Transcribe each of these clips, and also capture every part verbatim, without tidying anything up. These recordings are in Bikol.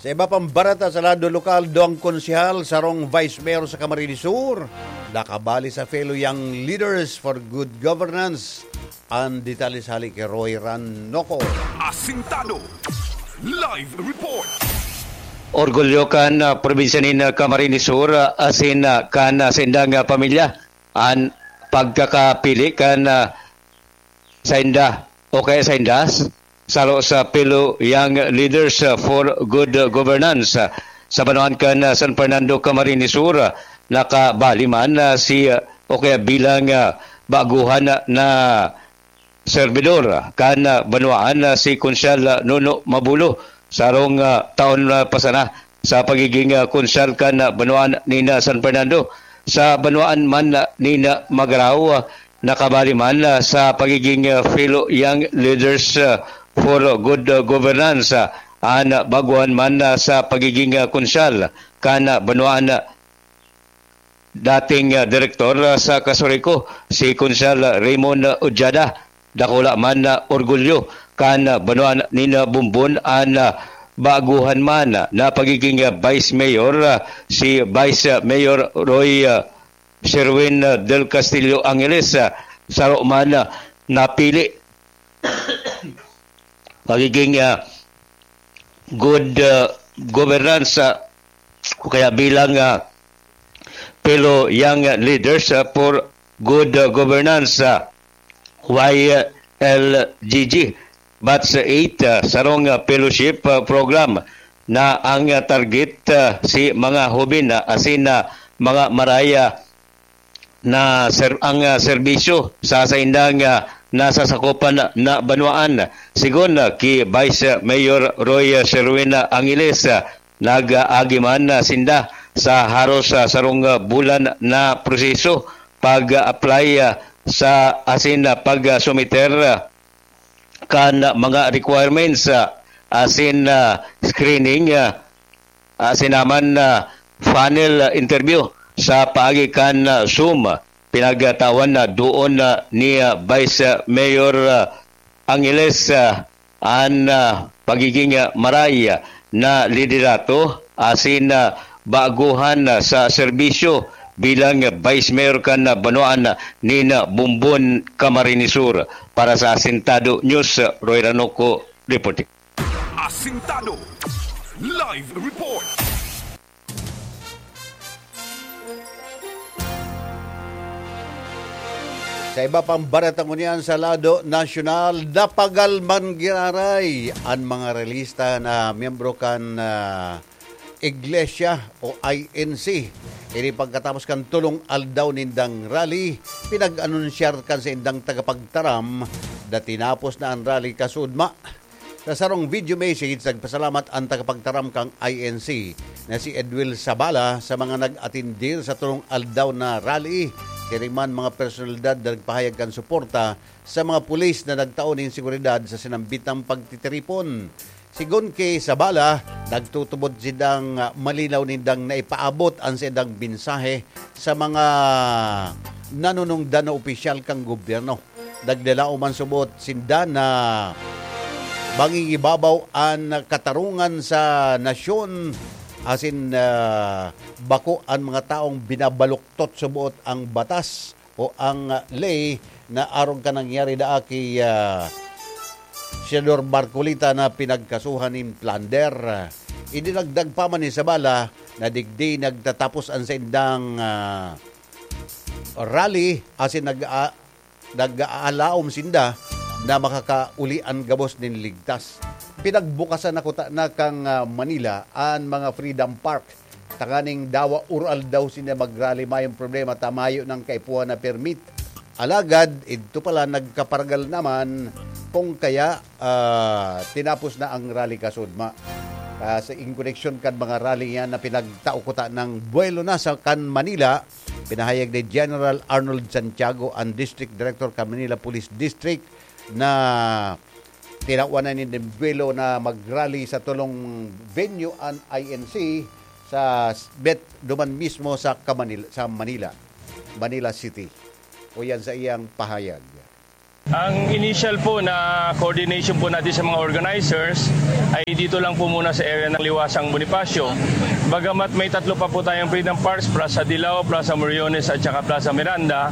Sa iba pang bareta sa lado lokal, duwang konsehal, sarong vice mayor sa Camarines Sur, nakabali sa fellow Young Leaders for Good Governance. An detalye sa hali ki Roy Ranoco. Asintado. Live report. Orgulyo kan, ah, probinsya nin, ah, Camarines Sur, ah, asin, ah, kan, ah, saindang, ah, pamilya an pagkakapili kan, ah, sainda o kaya sainda, saro sa fellow Young Leaders, ah, for Good, ah, Governance, ah, sa banwaan kan, ah, San Fernando, Camarines Sur, ah, nakabali man, ah, si, ah, o kaya bilang, ah, baguhan na, na serbidor kan, ah, banwaan, ah, si Konsehal, ah, Nuno Mabulo, sarong, ah, taon, ah, pa sana sa pagiging, ah, konsehal kan, ah, banwaan nin, ah, San Fernando. Sa banwaan man, ah, nin, ah, Magarao, ah, nakabali man, ah, sa pagiging, ah, fellow Young Leaders, ah, for Good, ah, Governance, ah, an, ah, baguhan man, ah, sa pagiging, ah, konsehal kan, ah, banwaan, ah, dating, ah, direktor, ah, sa Casureco, si Konsehal Raymond Ojada. Dakula man na orgulyo kan, ah, banwaan nin, ah, Bumbon an, ah, baguhan man na pagiging, ah, vice mayor, ah, si Vice, ah, Mayor Roy, ah, Sherwin, ah, Del Castillo Angeles, ah, saro man, ah, napili pagiging, ah, good, ah, governance, ah, o kaya bilang, ah, fellow Young Leaders, ah, for Good, ah, Governance, ah, Y L G G, Batch eight, ah, sarong, ah, fellowship, ah, program na ang, ah, target, ah, si mga hubin, ah, asin na mga maraya na ser-, ang, ah, serbisyo sa saindang, ah, nasasakopan na banwaan. Sigon, ah, ki Vice Mayor Roy, ah, Sherwin, ah, Angeles, ah, nag-aagi man, ah, sinda sa haros, ah, sarong, ah, bulan na proseso pag-apply, ah, sa asin, ah, pag-sumiter, ah, kan mga requirements, ah, asin, ah, screening, ah, asin naman, ah, panel, ah, interview sa paagi kan, ah, Zoom. Pinagtawan na doon na ni, ah, Vice, ah, Mayor, ah, Angeles, ah, an, ah, pagiging, ah, maray, ah, na liderato asin, ah, baguhan, ah, sa serbisyo bilang Vice Mayor kan, ah, banwaan, ah, nin, ah, Bumbon, Camarines Sur. Para sa Asintado News, ah, Roy Ranoco reporting. Asintado. Live report. Sa iba pang bareta ngunyan sa lado nasyonal, napagal man giraray an mga relista na miyembro kan, ah, Iglesia o I N C. Ini pagkatapos kan tolong aldaw nindang rally, pinag-anunsyar kan saindang tagapagtaram na tinapos na an rally kasudma. Sa sarong video message, nagpasalamat an tagapagtaram kan I N C na si Edwil Sabala sa mga nag-atendir sa tolong aldaw na rally. Siring man mga personalidad na nagpahayag kan suporta sa mga pulis na nagtao nin seguridad sa sinambitang pagtitiripon. Sigon ki Sabala, nagtutubod sindang, ah, malinaw nindang naipaabot an saindang mensahe sa mga nanunungdan na opisyal kan gobyerno. Nagdalaom man subot sinda na mangingibabaw an katarungan sa nasyon, asin, ah, bako an mga taong binabaluktot subot ang batas o ang, ah, ley na arog kan nangyari daa ki, ah, Senador Marcoleta na pinagkasuhan nin plunder. Idinagdag pa man ni Sabala na digdi nagtatapos an saindang, ah, rally asin nag-a-, nag-aalaom sinda na makakauli an gabos nin ligtas. Pinagbukasan na kuta na kan, ah, Manila an mga Freedom Park tanganing dawa or aldaw sinda mag-rally, mayong problema ta mayo nang kaipuhan na permit. Alagad, idto pala nagkaparagal naman kung kaya, ah, tinapos na ang rally kasudma. Ah, sa in connection kan mga rally yan na pinagtao kuta ng buwelo na sa kan Manila, pinahayag ni General Arnold Santiago, ang District Director kan Manila Police District, na tinawan na nin buwelo na mag-rally sa tolong venue an I N C sa bet duman mismo sa Kamanil-, sa Manila, Manila City. O yan sa iyang pahayag. Ang initial po na coordination po natin sa mga organizers ay dito lang po muna sa area ng Liwasang Bonifacio. Bagamat may tatlo pa po tayong Freedom Parks, Plaza Dilao, Plaza Moriones at saka Plaza Miranda,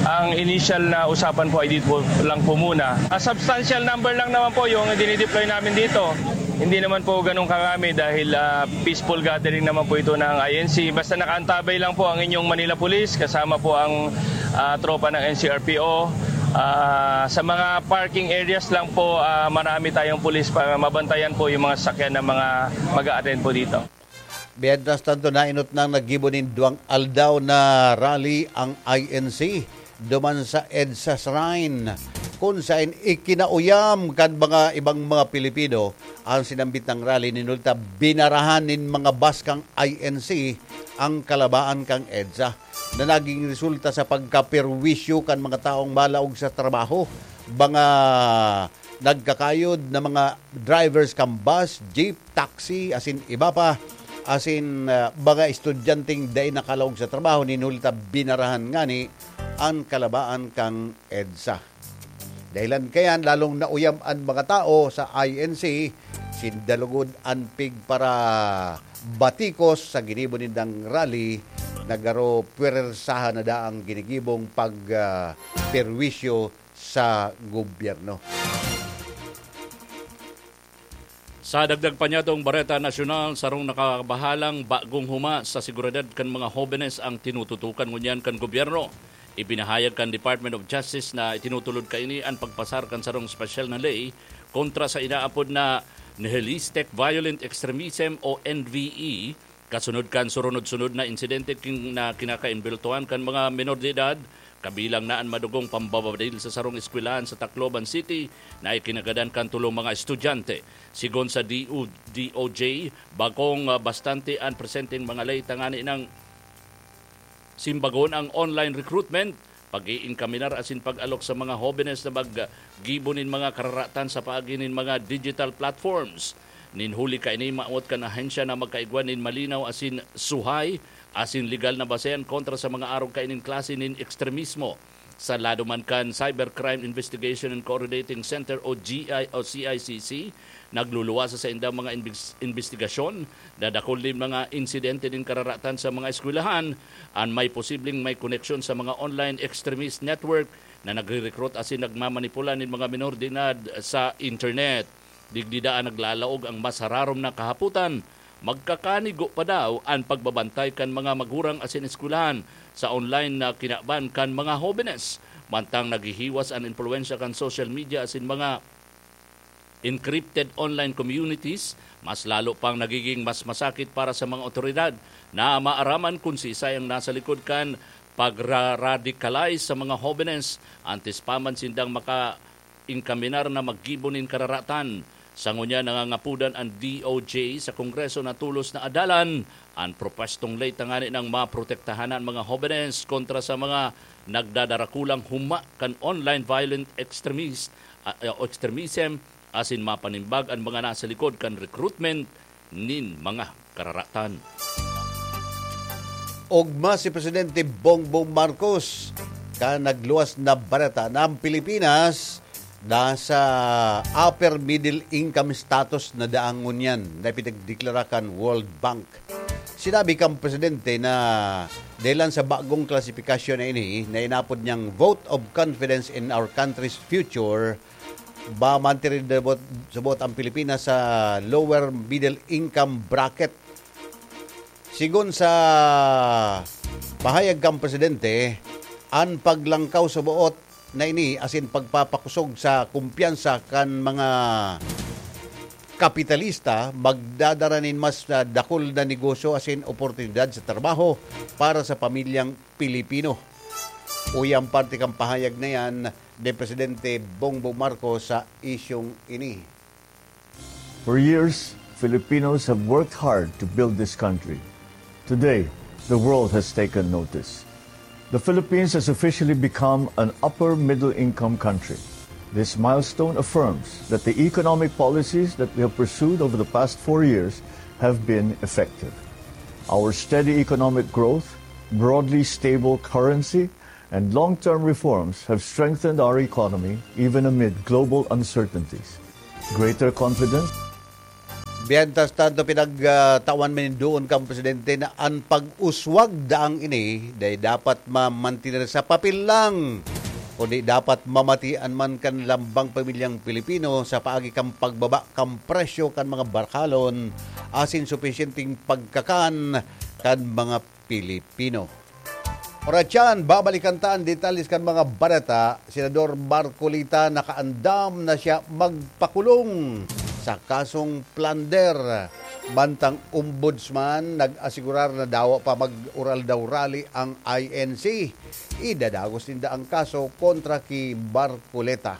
ang initial na usapan po ay dito lang po muna. A substantial number lang naman po yung dinideploy namin dito. Hindi naman po ganun karami dahil ah, peaceful gathering naman po ito ng I N C. Basta nakaantabay lang po ang inyong Manila Police kasama po ang ah, tropa ng N C R P O. Ah, sa mga parking areas lang po, ah, marami tayong pulis para mabantayan po yung mga sasakyan ng mga mag-a-attend po dito. Mientras tanto, nainot nang naggibo nin duwang aldaw na rally ang I N C duman sa EDSA Shrine, kun saen ikinauyam kan mga ibang mga Pilipino ang sinambit nang rally. Ninulta, binarahan nin mga bus kan I N C ang kalabaan kan EDSA na naging resulta sa pagkaperwisyo kan mga taong malaog sa trabaho, mga nagkakayod na mga drivers kan bus, jeep, taxi, asin iba pa, asin ah, mga estudyanteng dai nakalaog sa trabaho, ninulta, binarahan ngani an kalabaan kan EDSA. Dahilan kayan, lalong nauyam an mga tao sa I N C, sinda lugod an pigparabatikos sa ginibo nindang rally na garo pwersahan na daang ginigibong pag ah, perwisyo sa gobyerno. Sa dagdag pa niyatong Bareta Nasyonal, sarong nakabahalang bagong huma sa seguridad kan mga hobenes ang tinututukan ngunyan kan gobyerno. Ipinahayag kan Department of Justice na itinutulod kaini an pagpasar kan sarong espesyal na ley kontra sa inaapod na Nihilistic Violent Extremism o N V E, kasunod kan surunod-sunod na insidente kin-, na kinakaimbultuhan kan mga menor de edad, kabilang na an madugong pambabadil sa sarong eskwelahan sa Tacloban City na ikinagadan kan tolong mga estudyante. Sigon sa D O, D O J, bakong ah, bastante an presenteng mga ley tangani nang simbagon ang online recruitment, pag-iinkaminar asin pag-alok sa mga hobenes na maggibo nin mga kararatan sa paagi nin mga digital platforms. Nin huli kaini, maawot kan ahensya na magkaigwa nin malinaw asin suhay asin legal na basehan kontra sa mga arog kaining klase nin ekstremismo. Sa lado man kan Cybercrime Investigation and Coordinating Center o G I o C I C C, nagluluwas sa saindang mga imbis-, imbestigasyon, dadakul nin mga insidente nin kararatan sa mga eskwelahan, an may posibleng may koneksyon sa mga online extremist network na nagre-recruit asin nagmamanipula nin mga minor de edad sa internet. Digdi daa naglalaog ang mas hararom na kahapotan. Magkakanigo pa daw an pagbabantay kan mga magurang asin eskwelahan sa online na kinaban kan mga hobenes, mantang naghihiwas an impluwensya kan social media asin mga encrypted online communities. Mas lalo pang nagiging mas masakit para sa mga awtoridad na maaraman kun siisay ang nasa likod kan pagra-radicalize sa mga hobenes antes pa man sindang maka-inkaminar na maggibo nin kararatan. Sa ngunyan, nangangapodan an D O J sa Kongreso na tolos na adalan an propwestong ley tangani nang maprotektahan an mga hobenes kontra sa mga nagdadarakulang huma kan online violent extremist, ah, o extremism, asin mapanimbag an mga nasa likod kan recruitment nin mga kararatan. Ogma si Presidente Bongbong Marcos kan nagluwas na bareta na ang Pilipinas nasa upper middle income status na daang ngunyan na ipinagdeklara kan World Bank. Sinabi kan Presidente na dahilan sa bagong klasifikasyon na ini na inapod niyang vote of confidence in our country's future, ba mantirin sabot ang Pilipinas sa lower middle income bracket. Sigon sa pahayag kan Presidente, an paglangkaw sa boot na ini asin pagpapakosog sa kumpiyansa kan mga kapitalista magdadara nin mas, ah, dakul na negosyo asin oportunidad sa trabaho para sa pamilyang Pilipino. Uya an parte kan pahayag na yan ni Presidente Bongbong Marcos sa isyung ini. For years, Filipinos have worked hard to build this country. Today, the world has taken notice. The Philippines has officially become an upper middle income country. This milestone affirms that the economic policies that we have pursued over the past four years have been effective. Our steady economic growth, broadly stable currency, And long-term reforms have strengthened our economy even amid global uncertainties. Greater confidence. Mientras tanto, pinagtawan man doon kan presidente na an pag-uswag daang ini dai dapat mamantener sa papel lang, kundi dapat mamatian man kan lambang pamilyang Pilipino sa paagi kan pagbaba kan presyo kan mga barkalon asin supisyenteng pagkakan kan mga Pilipino. Oras yan, babalikan ta an detalye kan mga bareta. Senador Marcoleta nakaandam na siya magpakulong sa kasong plunder. Mantang ombudsman nag-asigurar na dawa pa mag-oral daw rally ang I N C. Idadagos ninda ang kaso kontra ki Marcoleta.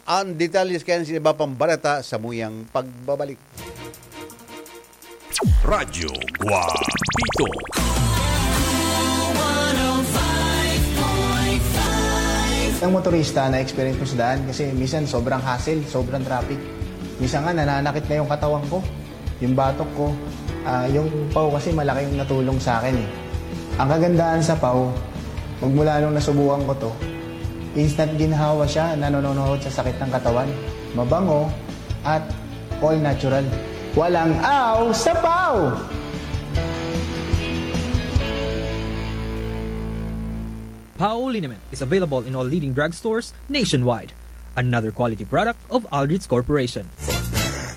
Ang detalye kan iba pang bareta sa muyang pagbabalik. Radyo Guapito. Ang motorista na experience ko sa daan kasi minsan sobrang hassle, sobrang traffic. Minsan nga nananakit na yung katawan ko, yung batok ko, ah, yung pau kasi malaki yung natulong sa akin eh. Ang kagandahan sa pau, magmula nung nasubukan ko to, instant ginhawa siya, nanononohod sa sakit ng katawan. Mabango at all natural. Walang aw sa pau! Pau liniment is available in all leading drugstores nationwide. Another quality product of Aldrich Corporation.